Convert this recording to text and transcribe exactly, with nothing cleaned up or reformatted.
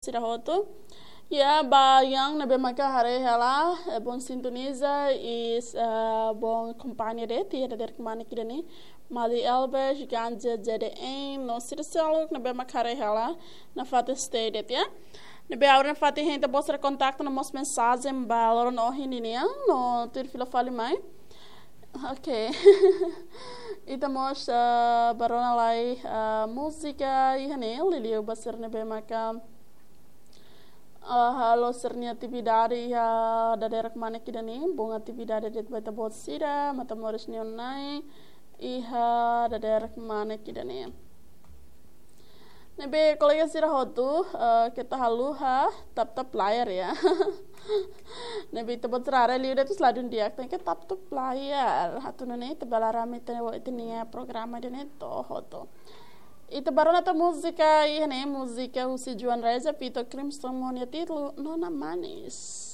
sira hotu. Ya, ba yang ne'ebé maka haree hela, eh, bom sintoniza i, eh, bom kompañia de'it, ya, dadeer kemana kita ni. Mali Elbes, Ganja, J D N, no sira seluk ne'ebé maka haree hela, nafatin stay de'it, ya. Ne'ebé agora nafatin hein ita-boot sira kontaktu no mós mensajen ba loron ohin nian, no tuir fila fali mai. Ok. Ita mós, ah, bá rona lai, ah, múzika iha ne'e, liuliu ba sira ne'ebé maka, ah, halo sira-nia atividade iha dadeer kemana kita ni, bom atividade de'it ba ita-boot sira, Matamoros nia Nai, iha dadeer kemana kita ni. Ne'ebé kolega sira hotu, eh, keta haluha tap-tap layar ya. Ne'ebé ita-boot sira haree liu de'it ladún di'ak, tenke tap-tap layar. Atu nune'e ita bele haree ami ita, ita-nia programa ida-ne'e to'o hotu. Ita bá rona tan múzika iha ne'e, múzika husi João Reza, Vitor Crimson, ho nia títulu Nona Manis.